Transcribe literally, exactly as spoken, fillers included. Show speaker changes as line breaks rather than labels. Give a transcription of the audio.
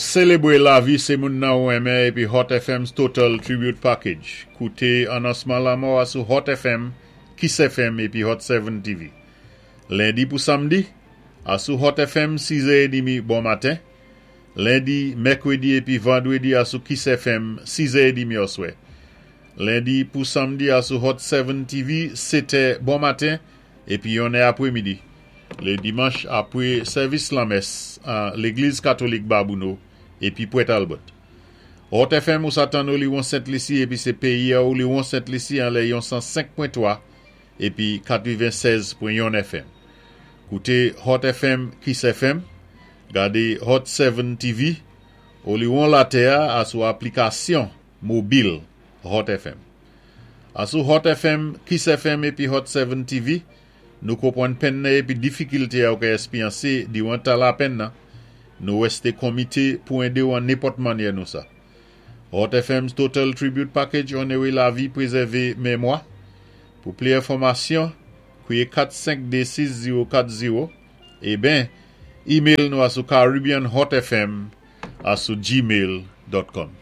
Sélébwé lavi sé moun nan ou renmen épi Hot F M's Total Tribute Package. Kouté anonsman lanmò a sou Hot F M, Kiss F M épi Hot sept T V. Lendi pou samdi, asou Hot F M sis è trant bon maten. Lendi, mèkwédi épi vandwédi asou Kiss F M sis è trant oswè. Lendi pou samdi asou Hot sept T V sèt è bon maten épi yon è apwé midi. Lé dimanch apwé sèvis lanmès an Légliz Katolik Babouno épi Pwèt Albert. Hot F M ou sa tann Oliwon Sent Lisi épi sé péyi a Oliwon Sent Lisi an lè yon san senk pwen twa épi katwennsèz pwen yon F M. Kouté Hot F M, Kiss F M, gadé Hot sept T V, oliwon latè asou aplikasyon mobil Hot F M. Asou Hot F M, Kiss F M épi Hot sept T V, nou konpwann penn nan épi difikilté a ou ka èspéryansé diwan tan lapenn nan, nou wèsté komité pou édé ou an nenpòt mannyè nou sa. Hot F M's Total Tribute Package onoré lavi, pwézèvé mémwa. Pou plis enfòmasyon, kwiyé kat senk dé sis zéwo kat zéwo é ben email nou asou caribbeanhotfm asou gmail dot com.